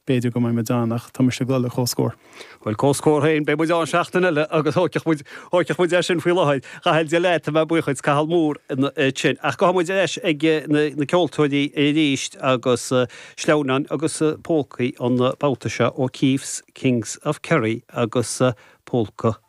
B'fhéidir go mbeidh muid ann ach tá mise ag dul le comhscór. Bhuel, comhscór féin, beidh muid ann seachtain eile agus thógfadh muid, thógfadh muid é sin faoi láthair. A Chathail, Dia leat, tá mé buíoch duit, Cathal Moore ansin. Ach gabhfaidh muid ar ais ag na ceoltóirí arís agus sleamhnáin agus pólcaí an babhta seo O'Keefe's Kings of Kerry agus pólca.